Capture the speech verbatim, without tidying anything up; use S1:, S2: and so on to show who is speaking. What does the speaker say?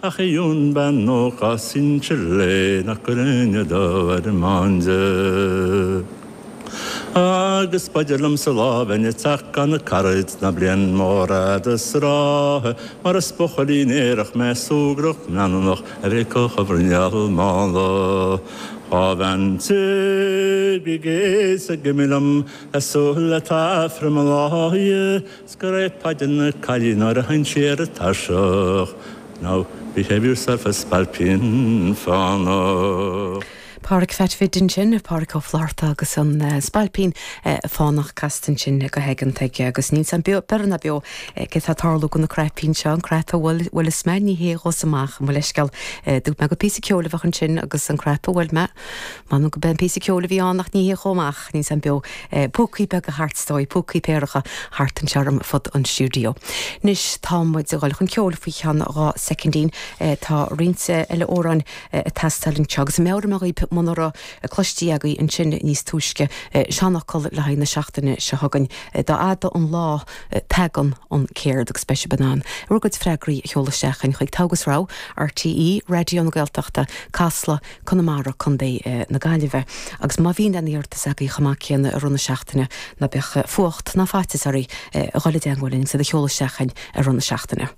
S1: Ach ionn bean nócha sinsear léi nach gcuirfinn dó ar an maide. Agus b'fhéidir liom sa lá bheinn ag teacht gan na caraid ná bliain mór fhada is ráithe, mar is buachaillín aerach mé súgrach leanúnach a bhí acu bhruinneall mála. Dhá bhean tí bhí géas ag imigh liom le súil le taifre mo láithe, 's go raibh Paidí na caillí nuair a sheinn sí ar an tairseach. Now behave yourself a spailpín fánach.
S2: Pádraic Pheait Bhid ansin, Pádraic Ó Flatharta agus an Spailpín Fánach casta ansin go haigeanta aige agus níl san beo ná beo cé tá tarlú go na craipín seo an crap a bhfuil bhfuil is mé ní hé dhos amach mo leithscéal dúirt mé go píosa ceoil a bheadh ansin agus an crap a bhfuil mé Man go ben píosa ceoil a bhí ann ach ní hé chomh maith níl san beo púcaí beaga thart stoi púcaí péaracha thart anseo fud an stiúideo. Anois tá muid ag dul chun ceoil faoi cheann dhá soicindín tá roinnt eile amhráin ag teastáil anseo agus meabhraím dhaoibh muna raibh cloiste agaibh ansin níos túisce seanfhocal le haghaidh na seachtaine seo chugainn dá fhada an lá tagann an céard agus beidh sibh in ann. Bhur gcuid freagraí a sheoladh isteach chuig Togha is Rogha, RTÉ, Raidió na Gaeltachta, Casla, Conamara Contae na Gaillimhe. Agus má bhíonn aon iarratas agaibh chomh maith céanna i rith na seachtaine ná bíodh fuacht ná faitíos oraibh a dhul i dteagmháil linn sa a sheoladh isteach ar rith na seachtaine.